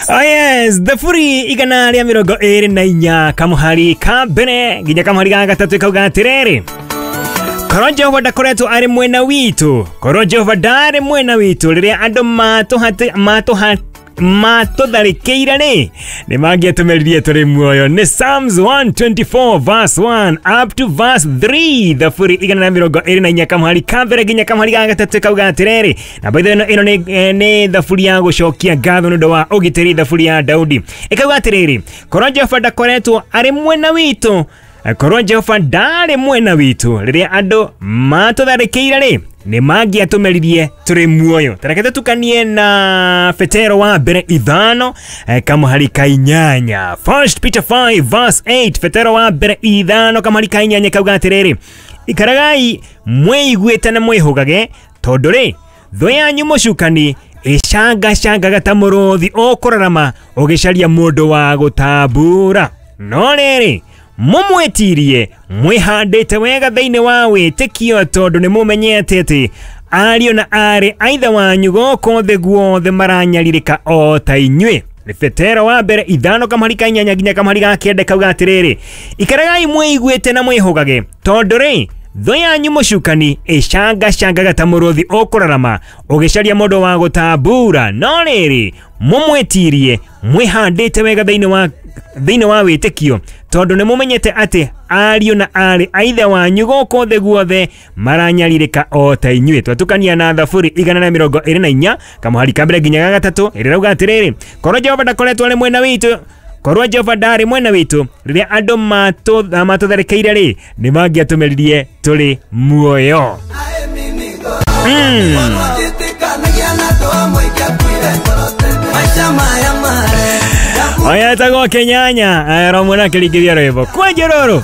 Oh yes, thaburi 124 kamuhari ka mbere nginya kamuhari ga gatatu kauga atiriri. Korwo Jehova ndakoretwo arĩ mwena witũ, korwo Jehova ndarĩ mwena witũ rĩrĩa andũ matũtharĩkĩire rĩ, nĩ mangĩatũmeririe tũrĩ muoyo. Nĩ Psalms 124 verse 1 up to verse 3, thaburi 124 kamuhari ka mbere nginya kamuhari ga gatatũ kauga atĩrĩrĩ. Na by the way, ĩno nĩ thaburi ya gũcokia ngatho nĩ ũndũ wa ũgitĩri, thaburi ya Daudi ĩkauga atĩrĩrĩ, korwo Jehova ndakoretwo arĩ mwena witũ, korwo Jehova ndarĩ mwena witũ rĩrĩa andũ matũtharĩkĩire rĩ, nĩ mangĩatũmeririe tũrĩ muoyo. Tareke tũtukanie na Petero wa mbere 5 kamuhari ka 8, First Peter 5 verse 8, Petero wa mbere 5 kamuhari ka 8 kauga atĩrĩrĩ, ikaragai mwĩiguĩte na mwĩhũgage, tondũ rĩ thũ yanyu mũcukani ĩcangacangaga ta mũrũthi ũkũrarama ũgĩcaria mũndũ wa gũtambura. No rĩrĩ mũmwĩtirie mwĩhandĩte wega thĩinĩ wa wĩtĩkio, tondũ nĩ mũmenyete atĩ ariũ na aarĩ a ithe wanyu gũkũ thĩ guothe maranyarirĩka o ta inyuĩ. Nĩ Petero wa mbere 5 kamuhari ka 8 nginya kamuhari ga 9 kauga atĩrĩrĩ, ikaragai mwĩiguĩte na mwĩhũgage, tondũ rĩ thũ yanyu mũcukani ĩcangacangaga ta mũrũthi ũkũrarama ũgĩcaria mũndũ wa gũtambura. No rĩrĩ mũmwĩtirie mwĩhandĩte wega thĩinĩ wa wĩtĩkio, tondũ nĩ mũmenyete atĩ ariũ na aarĩ a ithe wanyu gũkũ thĩ guothe maranyarirĩka o ta inyuĩ. Twatukania na thaburi 124 kamuhari ka mbere nginya ga gatatũ ĩrĩa ĩrauga atĩrĩrĩ, korwo Jehova ndakoretwo arĩ mwena witũ, korwo Jehova ndarĩ mwena witũ rĩrĩa andũ matũtharĩkĩire rĩ, nĩ mangĩatũmeririe tũrĩ muoyo. Oya etagwo Kenyanya romwe na kĩringithia rwĩmbo kwenje rũrũ.